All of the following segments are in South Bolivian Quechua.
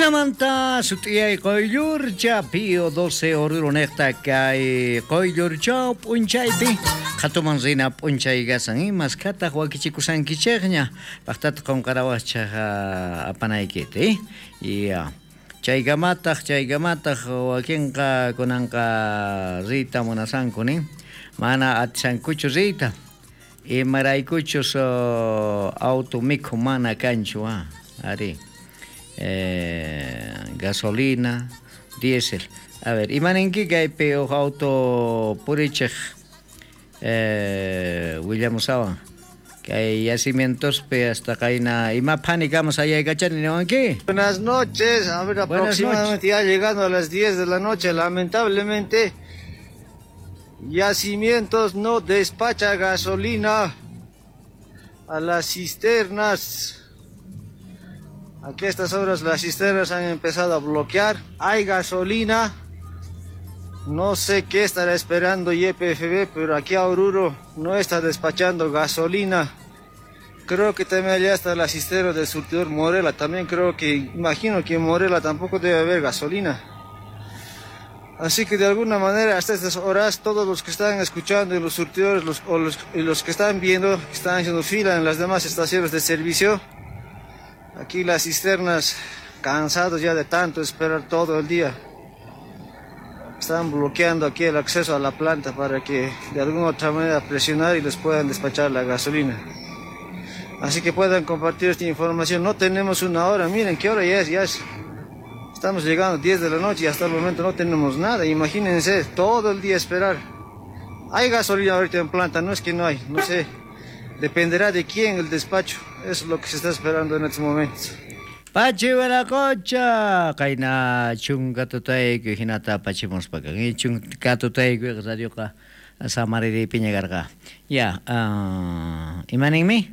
Jinamanta sut'iyay Qoyllurcha Pío 12 Oruro niqta kay Qoyllurchaw p'unchaypi qhatuman rina p'unchay kasan maskhataq wakichikusankichikña paqtataq qunqarawaqchaq apanaykita ya chaykamataq chaykamataq wakinqa kunanqa riyta munasanku nin mana atisankuchu riyta imaraykuchus auto mikhu mana kanchu ari gasolina diésel a ver imaninki kaypi uj auto purichej willamusawan kay yacimientospi hasta qayna ima phani kama sayaykachani niwanki. Buenas noches, a ver, aproximadamente ya llegando a las 10 de la noche, lamentablemente Yacimientos no despacha gasolina a las cisternas. Aquí a estas horas las cisternas han empezado a bloquear. Hay gasolina. No sé qué estará esperando YPFB, pero aquí a Oruro no está despachando gasolina. Creo que también allá está la cisterna del surtidor Morela. También creo que, imagino que en Morela tampoco debe haber gasolina. Así que de alguna manera hasta estas horas todos los que están escuchando y los surtidores y los que están viendo, que están haciendo fila en las demás estaciones de servicio, aquí las cisternas, cansados ya de tanto esperar todo el día, están bloqueando aquí el acceso a la planta para que de alguna otra manera presionar y les puedan despachar la gasolina. Así que puedan compartir esta información. No tenemos una hora, miren qué hora ya es, ya es. Estamos llegando a 10 de la noche y hasta el momento no tenemos nada. Imagínense, todo el día esperar. Hay gasolina ahorita en planta, no es que no hay, no sé. Dependerá de quién el despacho. Eso es lo que se está esperando en estos momentos. Pachi wiraqucha, qayna chunka tutayku hinata apachimuspa kan. Chunka tutayku radioqa samariripiña karqa. Ya, imaninmi?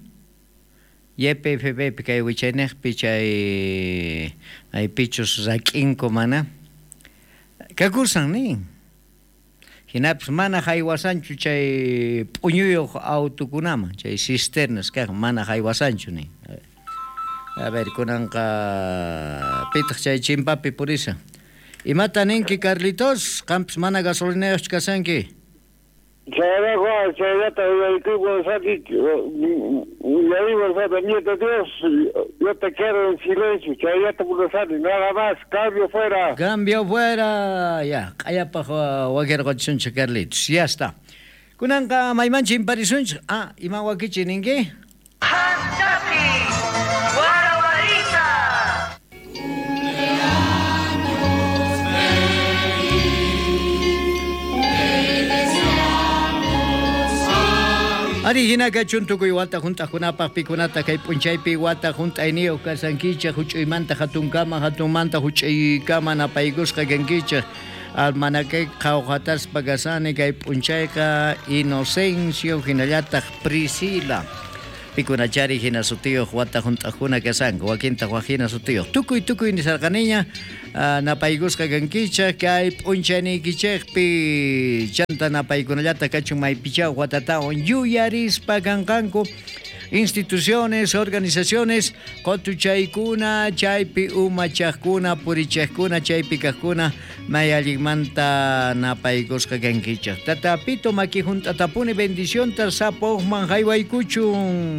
YPFB kay wichayniqpi chay maypichus rak'inku mana kakusan nin. Hinapis mana haywasanchu chay p'uñuyuq autukunaman, chay cisternas kaq mana haywasanchu nin. A ver, kunanqa pitaq chay chimpapi purisa. Imata ninki Carlitos, qampis mana gasolinayuqchu kasanki? Chayrata nieto Dios, yo te quiero en silencio, chayrata Buenos nada más, cambio fuera. Cambio fuera, ya, q'ayapaq wakirqachisunchik Carlitos, ya está. Kunanqa mayman chimparisunchik, ima wakichi ninki? Ari hinaka chuntukuy wata junt'aqkunapaq pikunata kay p'unchaypi wata junt'ayniyuq kasankichik huch'uymanta hatunkama hatunmanta huch'uykama napaykusqa kankichik almanakay qhawqataspa kasani kay p'unchayqa Inocencio hinallataq Priscila pikunachari hina sutiyuq wata junt'aqkuna kasanku wakintaq wak hina sutiyuq tukuy tukuy nisarqaniña napaykusqa kankichik kay p'unchayniykichikpi chanta napaykunallata kachun maypichaw watatawan yuyarispa kanqanku instituciones, organizaciones, qotuchaykuna, chaypi umachaqkuna, purichaqkuna, chaypi kaqkuna, may allinmanta napaykusqa kankichik. Tata Pito maki junt'atapuni bendicionta sapoqman haywaykuchun.